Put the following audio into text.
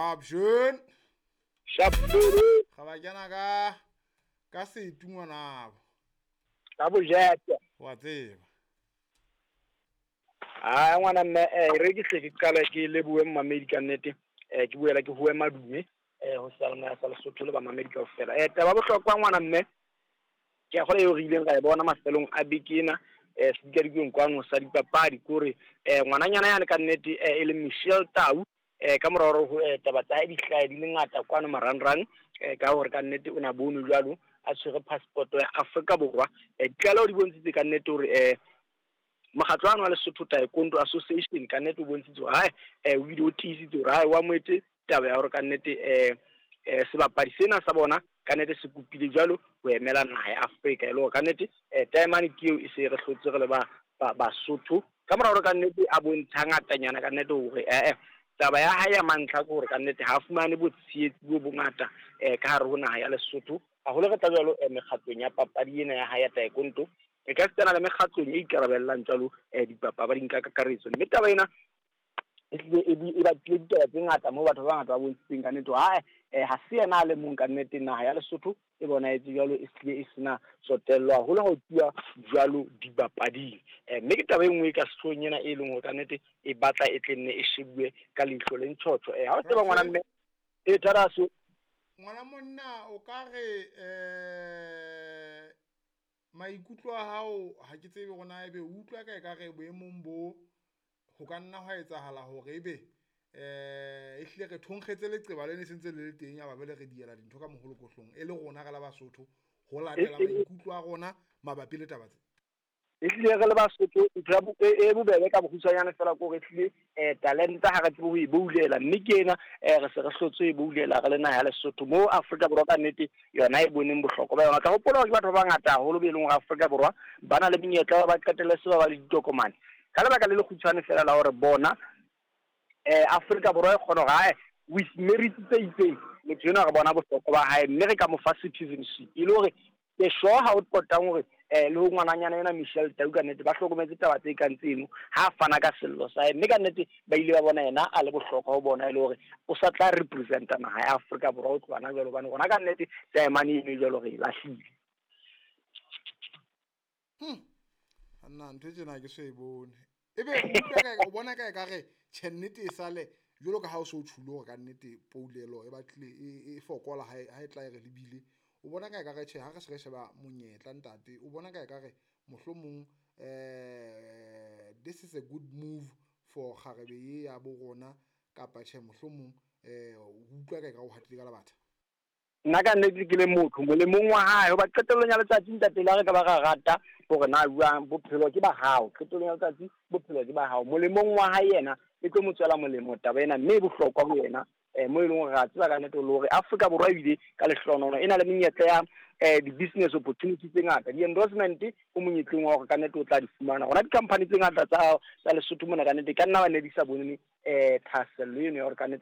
Sharp jeune. Sharp. Ga ba kena ka setu ngwanabo. Ka bojete. Wa tseba. Ah ngwana mme re ke hle ke qala ke lebohe mmamedi ka nnete. Ke buela ke howe madume ho seyalemoya sa Lesotho le bamamedi kaofela. Taba bohlokwa ngwana mme ke a kgolwa eo re ileng ra e bona mafelong a beke ena sedikadikweng kwano sa dipapadi kore ngwananyana yane ka nnete e leng Michelle Tau ka mora hore taba tsa hae di hlahe di le ngata kwano marangrang ka hore ka nnete o na bonwe jwalo a tshwere passport ya Afrika Borwa. Ditlaleho di bontshitse ka nnete hore mokgatlo wa Lesotho Taekwondo Association ka nnete o bontshitse hore hae o bile o tiisitse hore hae wa moetse taba ya hore ka nnete sebapadi sena sa bona ka nnete se kopile jwalo ho emela naha ya Afrika e le hore ka nnete taemane ke eo e se re hlotse re le ba Basotho ka mora hore ka nnete a bontsha ngatanyana ka nnete hore taba ya hae ya mantlha ke hore ka nnete ha fumane botshehetsi bo bongata ka hare ho naha ya Lesotho haholo re tla jwalo mekgatlong ya papadi ena ya hae ya taekwondo e ka setsana le mekgatlong e ikarabellang jwalo dipapading ka kakaretso. Mme taba ena e tlile e batlile ditaba tse ngata moo batho ba bangata ba bontshitseng ka nnete hae ha se yena a le mong ka nnete naha ya Lesotho e bonahetse jwalo e hlile e sena tsotello haholo ha ho tluwa jwalo dipapading. Mme ke taba e nngwe e ka sehloohong ena e leng hore ka nnete e batla e tle nne e shebuwe ka leihlo le ntjhotjho. Ha o tseba ngwana mme e tharaso ngwana monna o ka re maikutlo a hao ha ke tsebe rona ebe o utlwa ka e ka re boemong bo ho ka nna hwa etsahala hore ebe e hlile re thonkgetse leqeba le ne sentse le le teng ya ba bele re diela dintho ka moholokohlong e le rona re la Basotho ho latela maikutlo a rona mabapi le taba tse. E hlile re le Basotho ntho e bobebe ka bokgutshwanyane fela ke hore hlile talenta ha re tsebe ho e boulela mme ke ena re se re hlotse e boulela re le naha ya Lesotho mo Afrika Borwa ka nnete yona e boneng bohlokwa ba yona. Tla hopola hore ke batho ba bangata haholo be leng hore Afrika Borwa ba na le menyetla ba qetelle se ba ba le ditokomane ka lebaka le lekgutshwane fela la hore bona Afrika Borwa e kgona hore hae with merit tse itseng motho enwa re bona bohlokwa ba hae mme re ka mo fa citizenship e le hore ke sure ha o qotang hore le ho ngwananyana ena Michelle Tau ka nnete ba hlokometse taba tse kang tseno ha fana ka sello sa hae mme ka nnete ba ile ba bona yena a le bohlokwa ho bona e le hore o sa tla representa naha ya Afrika Borwa ho tloha na jwalo hobane rona ka nnete taemane eno jwalo re e lahlile. Nna ntho tsena ke so e bone ebe o bona ka e ka re tjhe nnete e sale jwalo ka ha o so tjhulo hore ka nnete poulelo e batlile e fokola ha e tla e re lebile o bona ka e ka re tjhe ha re se re sheba monyetla ntate o bona ka e ka re mohlomong this is a good move for kgarebe ye ya bo rona kapa tjhe mohlomong o utlwa ka e ka o hatile ka labatha. Nna ka nnete ke le motho molemong wa hae hoba qetellong ya letsatsi ntate le ha re ka ba ra rata hore na jwang bophelo ke ba hao qetellong ya letsatsi bophelo ke ba hao molemong wa hae yena e tlo mo tswela molemo taba ena mme e bohlokwa ho yena mo e leng hore ra tseba ka nnete le hore Afrika Borwa ebile ka lehlohonolo e na le menyetla ya di-business opportunity tse ngata di-endorsement o monyetleng wa hore ka nnete o tla di fumana rona di-company tse ngata tsa Lesotho mona ka nnete ka nna ba ne di sa bone thahasello eno ya hore ka nnete